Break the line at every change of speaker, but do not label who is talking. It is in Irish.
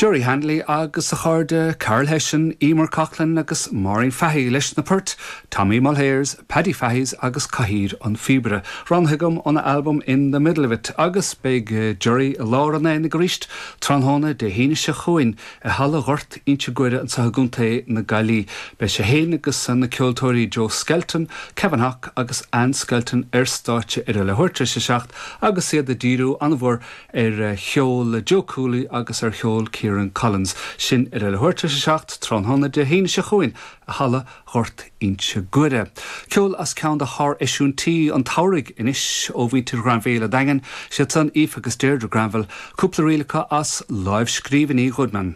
Gerry Hanley agus a chairde Karl Hession, Emer Coughlan agus Maureen Fahy leis na poirt Tommy Mulhare's, Paddy Fahy's agus Cathaoir an Phíobaire, roghnaithe agam óna albam In The Middle of It agus beidh Gerry i lár an aonaigh arís tráthnóna Dé hAoine seo chugainn i Halla Ghort Inse Guaire anseo i gContae na Gaillimhe. Beidh sé féin agus na ceoltóirí Joe Skelton, Kevin Hock agus Anne Skelton ar stáitse ar a leathuair tar éis a 7 agus iad ag díriú an-mhór ar cheol Joe Cooley agus ar cheol Kieran Collins. Sin ar a leathuair tar éis a 7 tráthnóna Dé hAoine seo chugainn i Halla Ghort Inse Guaire. Ceol as ceann de shár-eisiúintí an tsamhraidh anois ó mhuintir Ghranville an Daingin, siad san Aoife agus Deirdre Granville, cúpla ríl acu as lámhscríbhinní Goodman.